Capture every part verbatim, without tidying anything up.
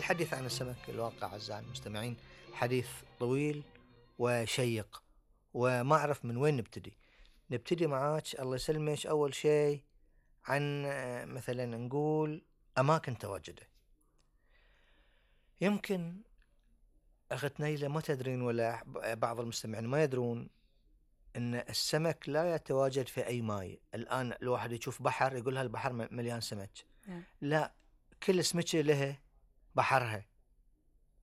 الحديث عن السمك الواقع أعزائي المستمعين حديث طويل وشيق، وما أعرف من وين نبتدي. نبتدي معاك الله يسلمك أول شيء عن مثلا نقول أماكن تواجده. يمكن أخت نيلة ما تدرين ولا بعض المستمعين ما يدرون أن السمك لا يتواجد في أي ماء. الآن الواحد يشوف بحر يقول هالبحر مليان سمك، لا، كل سمكة لها بحرها،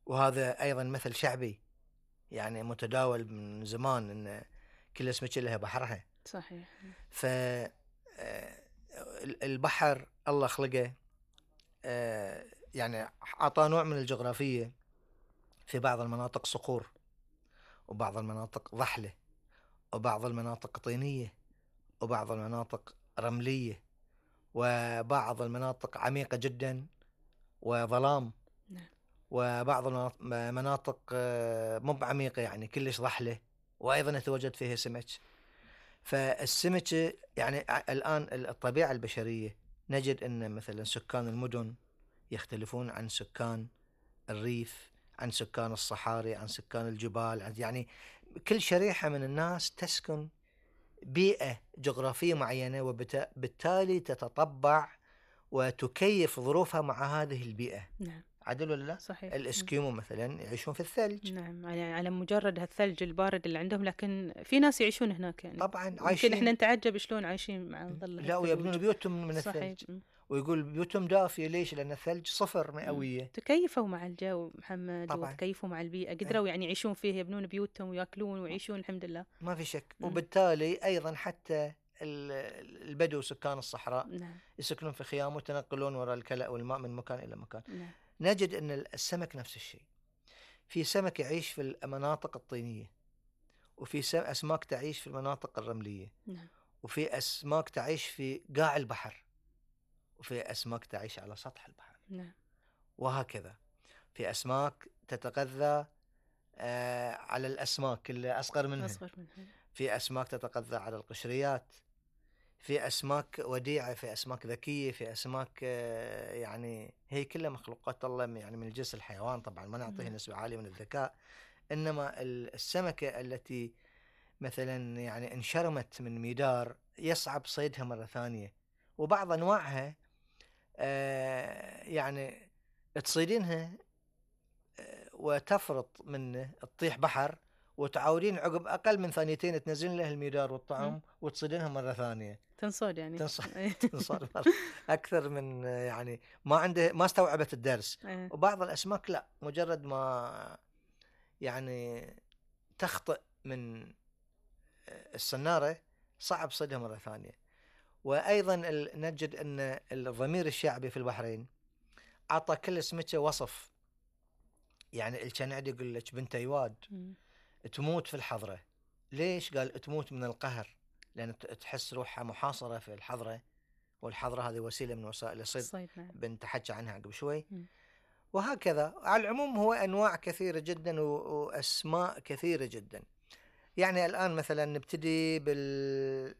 وهذا أيضا مثل شعبي يعني متداول من زمان أن كل سمكة لها بحرها. صحيح. فالبحر الله خلقه يعني أعطى نوع من الجغرافية، في بعض المناطق صخور، وبعض المناطق ضحلة، وبعض المناطق طينية، وبعض المناطق رملية، وبعض المناطق عميقة جدا وظلام، وبعض المناطق مو بعميقة يعني كلش ضحلة وأيضا يتواجد فيها سمك. فالسمك يعني الآن الطبيعة البشرية نجد أن مثلا سكان المدن يختلفون عن سكان الريف، عن سكان الصحاري، عن سكان الجبال، يعني كل شريحة من الناس تسكن بيئة جغرافية معينة، وبالتالي تتطبع وتكيف ظروفها مع هذه البيئة. نعم. عدل ولا لا؟ صحيح. الإسكيمو مثلا يعيشون في الثلج. نعم، يعني على مجرد هالثلج البارد اللي عندهم، لكن في ناس يعيشون هناك يعني. طبعا عايشين. يمكن احنا نتعجب شلون عايشين مع ظل لا، ويبنون بيوتهم من الثلج. صحيح. ويقول بيوتهم دافية، ليش؟ لأن الثلج صفر مئوية. تكيفوا مع الجو محمد، طبعا. وتكيفوا مع البيئة، قدروا يعني يعيشون فيه، يبنون بيوتهم ويأكلون ويعيشون الحمد لله. ما في شك. م. وبالتالي أيضا حتى البدو سكان الصحراء نعم. يسكنون في خيام وتنقلون وراء الكلأ والماء من مكان إلى مكان. نعم. نجد أن السمك نفس الشيء. في سمك يعيش في المناطق الطينية، وفي أسماك تعيش في المناطق الرملية. نعم. وفي أسماك تعيش في قاع البحر، وفي أسماك تعيش على سطح البحر. نعم. وهكذا في أسماك تتغذى آه على الأسماك اللي أصغر منها. أصغر منها. في أسماك تتغذى على القشريات، في أسماك وديعة، في أسماك ذكية، في أسماك آه يعني هي كلها مخلوقات الله يعني من الجنس الحيوان. طبعا ما نعطيه نسبة عالية من الذكاء، إنما السمكة التي مثلا يعني انشرمت من ميدار يصعب صيدها مرة ثانية، وبعض أنواعها آه يعني تصيدينها آه وتفرط منه تطيح بحر، وتعاودين عقب أقل من ثانيتين تنزلين له الميدار والطعم وتصيدينها مرة ثانية. تنصاد يعني. تنصاد, تنصاد أكثر من يعني ما عنده ما استوعبت الدرس. وبعض الأسماك لا، مجرد ما يعني تخطئ من السنارة صعب صيدها مرة ثانية. وأيضا نجد أن الضمير الشعبي في البحرين أعطى كل سمكة وصف. يعني الكنعدي يقول لك بنت أيواد تموت في الحضرة. ليش؟ قال تموت من القهر، لأن تحس روحها محاصرة في الحضرة، والحضرة هذه وسيلة من وسائل الصيد بنت حكى عنها قبل شوي. م. وهكذا على العموم هو أنواع كثيرة جدا وأسماء كثيرة جدا. يعني الآن مثلا نبتدي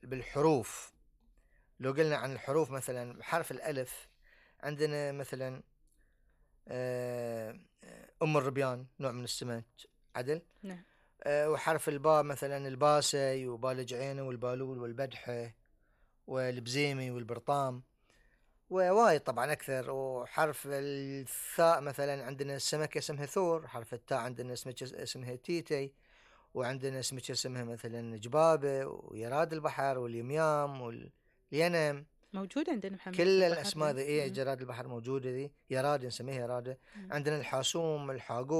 بالحروف. لو قلنا عن الحروف مثلا حرف الألف عندنا مثلا أم الربيان نوع من السمك. عدل. نعم. وحرف الباء مثلا الباسي وبالج عينه والبالول والبدحة والبزيمي والبرطام، ووايد طبعا أكثر. وحرف الثاء مثلا عندنا السمكة اسمها ثور. حرف التاء عندنا سمكة اسمها تيتي، وعندنا سمكة اسمها مثلا جبابة ويراد البحر واليميام والينم موجودة عندنا محمد. كل الأسماء ذي. إيه جراد البحر موجودة ذي. يراد نسميها يرادة. عندنا الحاسوم، الحاقوق.